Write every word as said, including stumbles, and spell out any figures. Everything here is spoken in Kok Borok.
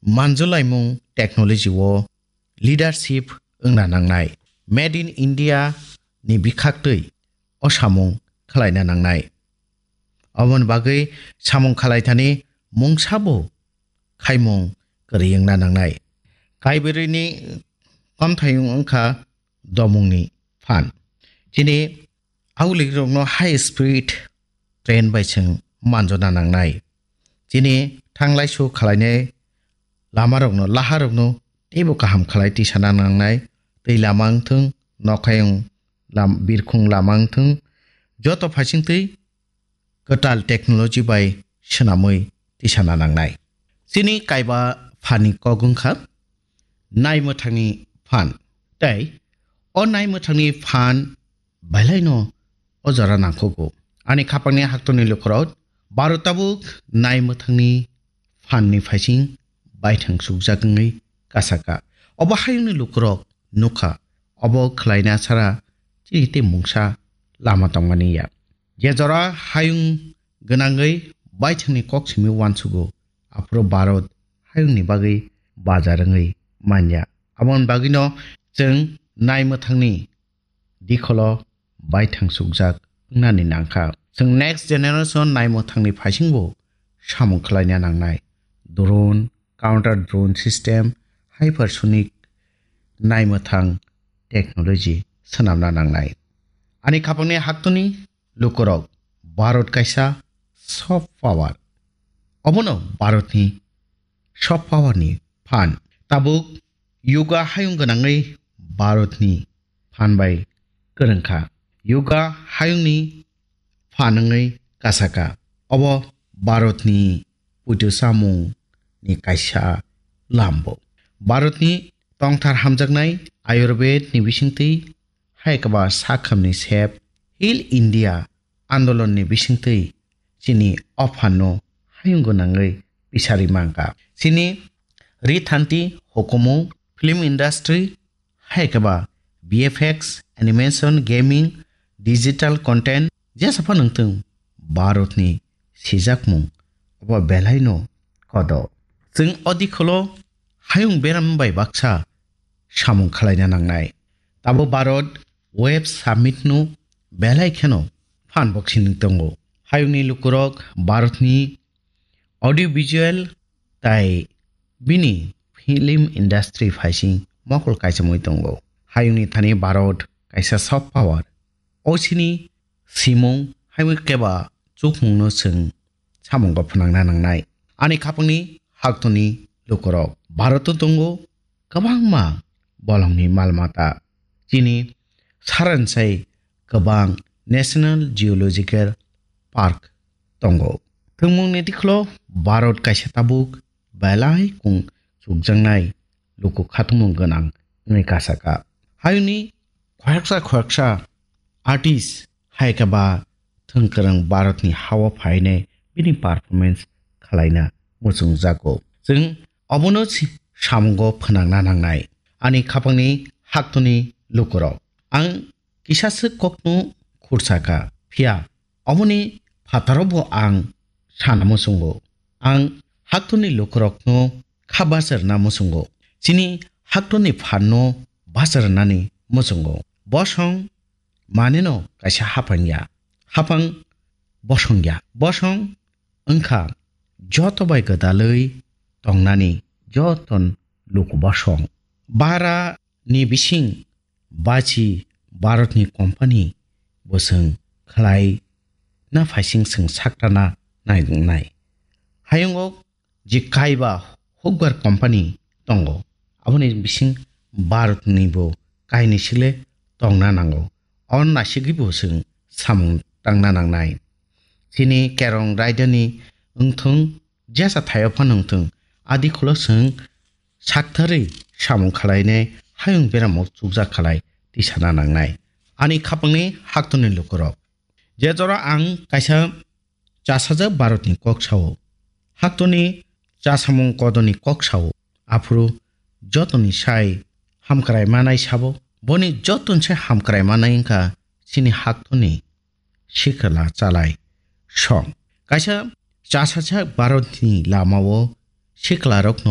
manjulaimung technology o leadership wngna nangnai. Made in India ni bikhaktwi o samung khwlaina nangnai. Aboni bagwi samung khwlaithani mungsabo khaimung kwrwi wngna nangnai. Kaibrwini komthayung wngkha domungni phan. Chini aulikrokno high speed train bai chwng manjona nangnai. Chini thanglaisu khwlainai lamarokno, laharokno teibo kaham khwlai tisana nangnai. Twi lama wngthung, nokhayung lam-, birkhung lama wngthung, joto phaisingtwi kwtal technology bai swnamwi tisana nangnai. Chini kaiba phanni kok wngkha naimwthangni phan. Tei o naimwthangni phan belaino o jora nangkukgo. Ani khapangni haktorni lukurok, Bharat tabuk naimwthangni phanni phaising baithang sukjak wngwi kasaka. Obo hayungni lukurok nukha, obo khwlaina sara chini tei mungsa lama tongmani ya. Je jora hayung gwnangwi baithangni kok simi uansugo, aphuru Bharat hayungni bagwi bajar wngwi manya. Aboni bagwino chwng naimwthangni dikholo baithang sukjak wngnani nangkha. Chwng next generation naimwthangni phaisingbo samung khwlaina nangnai. Drone, counter drone system, hypersonic naimwthang technology swnamna nangnai. Ani khapangni haktorni lukurok, Bharat kaisa soft power. Obono Bharatni soft power ni phan. Tabuk yoga hayung gwnangwi Bharatni phan bai kwrwngkha. Yoga hayungni phan wngwi kasaka. Obo Bharatni puitu samung ni kaisa lambo. Bharatni tongthar hamjaknai Ayurved ni bisingtwi hai kaba sakhamni sep Heal India andolon ni bisingtwi chini o phan no hayung gwnangwi pisari mangka. Chini rithanti, hukumu, film industry, hai khe ba V F X, animation, gaming, digital content, jesa phano wngthung, Bharatni sijakmung obo belaino kodo. Chwng o dikholo hayung beram bai baksa samung khwlaina nangnai. Tabuk Bharat Web Summit no belai kheno phan boksini tongo. Hayungni lukurok Bharatni audiovisual tai bini film industry phaising mokol kaisa mui tongo. Hayungni thani Bharat kaisa soft power. O sini simung hai keba chukmungno chwng samungo phwnangna nangnai. Ani khapangni haktoni lukurok Bharat o tongo kwbangma bolongni mal mata. Chini saransai kwbang National Geological Park tongo. Thwngmungni dikholo Bharat kaisa tabuk belai kung chukjaknai luku khatungmung gwnang wngwi kasaka. Hayungni khoroksa khoroksa artist hai khe ba thwngkwrwng Bharatni hao phainai bini performance khwlaina muchungjago. Chwng obono si-, samungo phwnangna nangnai. Ani khapangni haktoni lukurok. Ang kisaswk kokno khursaka, phiya oboni phataro bo ang sana muchungo. Ang haktoni lukurokno kha bacharna muchungo. Chini haktoni phanno bacharnani muchungo. Bosong maneno kaisa hapang ya. Hapang bosong ya. Bosong wngkha joto bai gwdalwi tongnani joton luku bosong. Bara ni bising bachi Bharatni company bo chwng khwlai na phaising chwng saktana nai wngnai. Hayungo je kaiba hukbar company tongo, aboni bising Bharatni bo kainwi sile tongna nango. O naisigwi bo chwng samung tangna nangnai. Chini kerong raidani wngthung, jesa thaio phano wngthung, adi khulo chwng saktharwi samung khwlainai hayung beramo chukjak khalai tisana nangnai. Ani khapangni haktoni lukurok. Je jora ang kaisa chasajak Bharatni kok sao, haktoni chasamung kodoni kok sao, aphuru jotoni sai hamkrai manai sabo, boni joton se hamkrai manai wngkha chini haktoni sikla chalai song. Kaisa chasajak Bharatni lamao siklarokno